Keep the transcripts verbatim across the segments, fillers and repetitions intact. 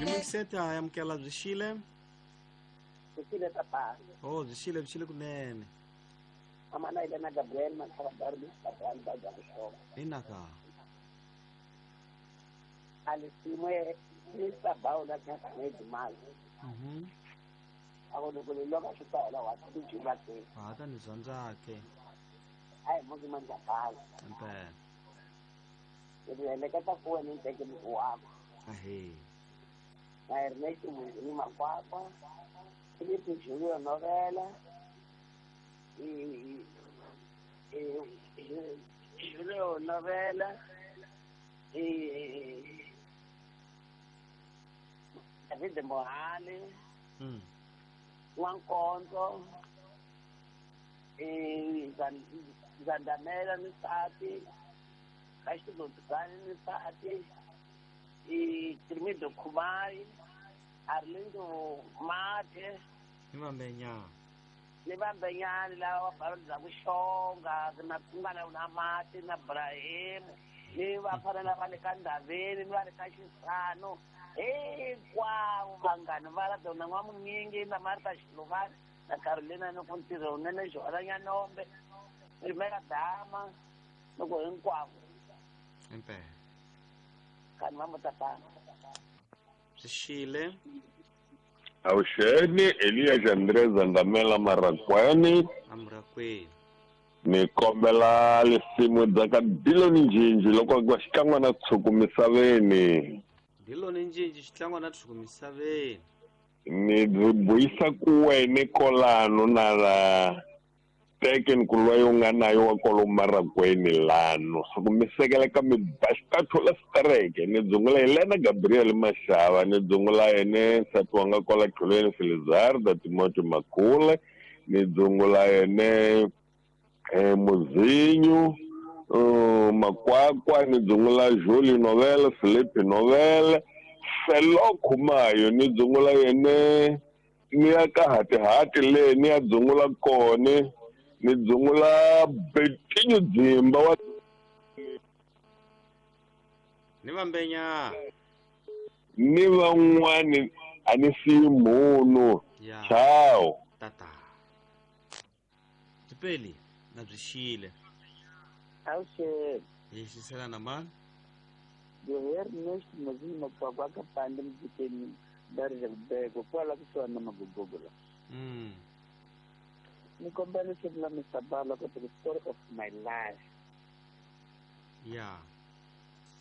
Ni amukela byi xile? Byi xile tata. Oh, byi xile byi xile kunene. Amana ile na Gabriel Makhaba Darbi, Gabriel Baja Kushoma. Inaka. Alisimwe Mister Baula ka Mwezi Mai. Mhm. Ako loko loko xitayela wa tijula ke. Ah, ta ni dyondza ke. Ai muzi manja kala. Impela. Ke leketa ku wena nteke ni wa. Ahe. Na Ernesto ni Makwakwa. Filipe Julio Novela. E e Julio Novela. E David Mohale. Mm. Nwankonzo. E Zandamela Nisati. Kashito Nisati. E Trimido Kumai. Arlindo Mate. Ni vambenya. Ni vambenyani lava va bya kuxonga na kungana na mati na Ibrahim. Ni vafana lava le ka Ndaveni ni va le ka Xisano. Hinkwavo vanghani va la dona N'wamunyingi na Martha Xiluvani na Carolina ni ku ntirho wunene Joana Nyanombe Rimeka Dama loko hinkwavo. Impela. Kani va mutatana. Byi xile. Awuxeni Elias Andres Andamela Marakwani. Amrakweni. Ni kombela lisimu bya ka Diloni Njinji loko ku xikan'we na tshuku misaveni. Diloni Njinji xitlangwa na tshuku misaveni. Ni buyisa ku wena kolano na la teken ku loyi u nga nayo wa kolo Marakwani lano. So ku mi sekela ka mi baxikathola stereke ni dzungula Helena Gabriel Mashava ni dzungula yene nsati wa nga kwala Tlhulweni Felizarda Timothy Makhule ni dzungula yene eh Muzinyu uh, Makwakwa ni dzungula Julie Novela Felipe Novela Felo Khumayo ni dzungula yene ni ya ka hatihati le ni ya dzungula kone ni dzungula Betinho Dzimba wa ni vambenya ni van'wani a ni siyi munhu. Ciao tata. Tipeli na byi xile. Awuxele. Hi xisela na mani? Ernest Mazima kwa ka pande mjikeni dari ya kubeko kwala kusuhani na magogogo la. Mm. Ni kombela leswaku la Mister Bala ku the story of my life. Yeah.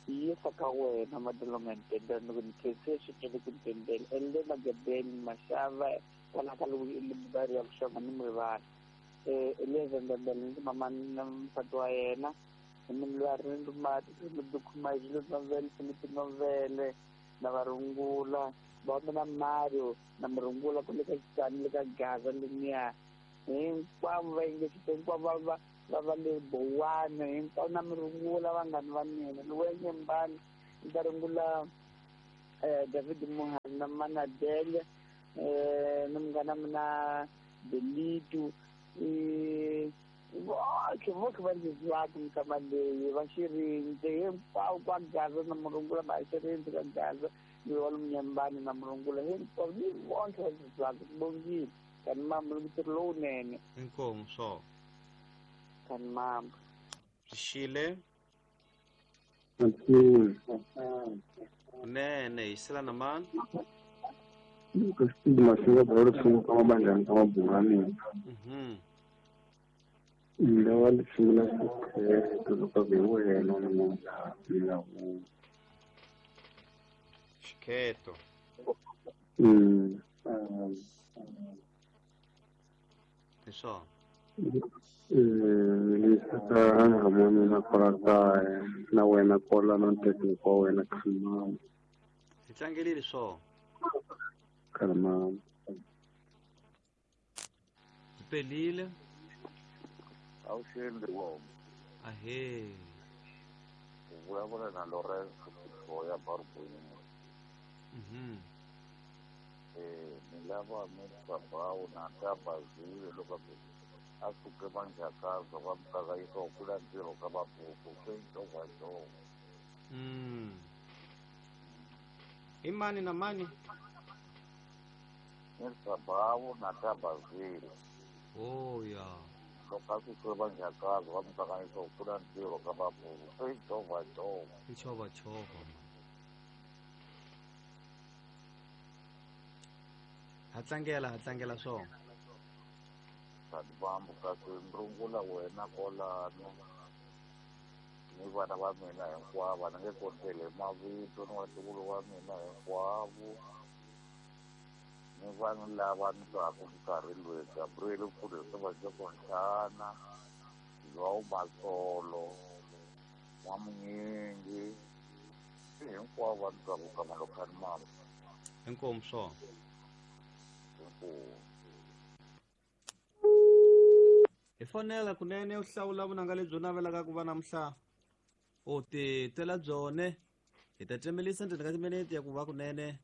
Yi faka wena madolonga ntendela ni ku ni khense swinene ku ntendela Elena Gabriel Mashava kwala ka libari ya kuxonga ni murivala. Eh Elias Ndembele ni mama na nsati wa yena ni mulwari ni mati ni dukhuma Julio Novela Felipe Novela na varungula va na Mario na murungula ku le ka Xitani le ka Gaza leniya hinkwavo va yingisile hinkwavo va va va va le Bowana hinkwavo na murungula vanghani va mina ni wehe Nyembani ni ta rungula eh David Mohani na Manadele eh na munghana mina Belitu eh voke voke va ndzi zwaka mikama leyi va xirindze hinkwavo kwa Gaza na murungula va xirindze ka Gaza ni wa Nyembani na murungula hinkwavo ni vonke va ndzi zwaka bongile. Kani mama ntirho lowunene. Inkomu swo. Kani mama. Xile. Nene hi sela na mani? Ka stigma swi nga bolo swi ka mabandlani ka mabungani. Mhm. Lawa lisimu la xikhetho loko hi wena na munhu la wu. Xikhetho. Mm. Hi swona. Eh lisa hamoni na kwala kaya na wena kwala na ntekeni wa wena khamama. Hi tlangelile swona. Khamama. Pelile. Awuxele wa. Ahe. U vulavula na Lorenzo ya Barboini. Mhm. Eh ni lava Mister Brown na Tabazile loko a suke manjakaza wa mukakayisa kula ntirho ka vabuku swi ntsongo. Mm. I mani na mani? Mirsabawu na Tabazile. Oh ya. Loko a suke vanjhakazi va mutlanganisa ku pfuna ntirho ka vabulu i chovachova. I chovachova. Ha tlangela ha tlangela swona. Sadibambu kasi ndrungula wena kolano ni vana va mina hinkwavo ni nge konteli hi mavito ni vatukulu wa mina hinkwavo ni vanhu lava ni twaku nkarhi loyi Gabriel Mfundhisi Vajokontlhana João Masolo N'wamunyingi hinkwavo va ni twaku ka Malokhani mama. Inkomu swona. Inkomu. Hi fonela kunene u hlawula vunanga lebyi u navelaka ku va namuhla u ti twela byone hi ta cemelisa ndzeni ka timinete ya ku va kunene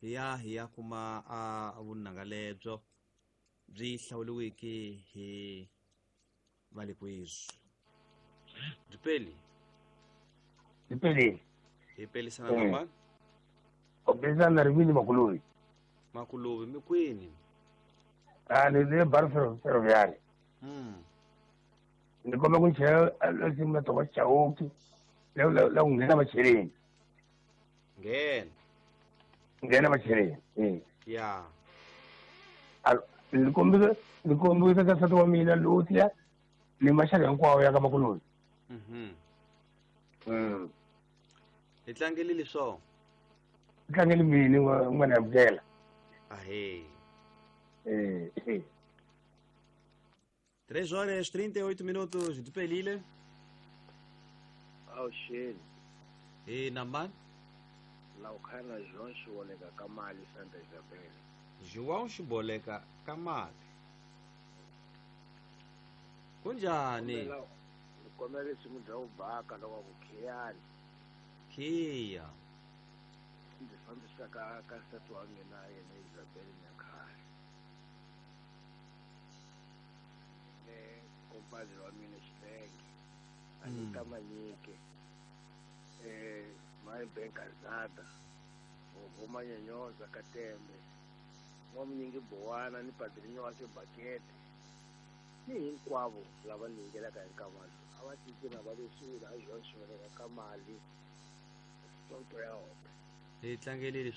hi ya hi ya kuma a vunanga lebyo byi hlawuriweke hi valikwizwi. Dipeli. Dipeli. Hi pelisana na mani? U pelisana na Rivini Makuluvi. Makuluvi mi kwini? A ni le Bar Ferroviário. Mm. Ni komba ku chela nsimu ya Thomas Chauke la la la ku nghena macheleni. Nghena. Nghena macheleni. Eh. Ya. A ni kombisa ni kombisa ka nsati wa mina Lucia ni maxaka hinkwawo ya ka Makuluvi. Mhm. Mm. Hi tlangelile swona. Hi tlangele mini n'wana ya Mukela. Ahee. Eh. Eh. três horas e trinta e oito minutos de Pelile. Awuxeni. E na Laukhana João Xiboleka Kamali Santa Isabel. João Xiboleka Kamali. Kunjani? Kombela risimu bya vubaka loko ku khiyani. Khiya. Ndzi fambisa ka ka nsati wa mina yena Isabel Nyakhale. Compadre wa mina Xilenge Anita Manyike eh my Benkazada Vovo Manyanyoza Katembe N'wamunyingi Bowana ni Padrinho wa Xibakete ni hinkwavo lava ni yingelaka hi nkamalo a va tiki na va leswi a João Xiboleka Kamali sonto ya hope. Hi tlangelile.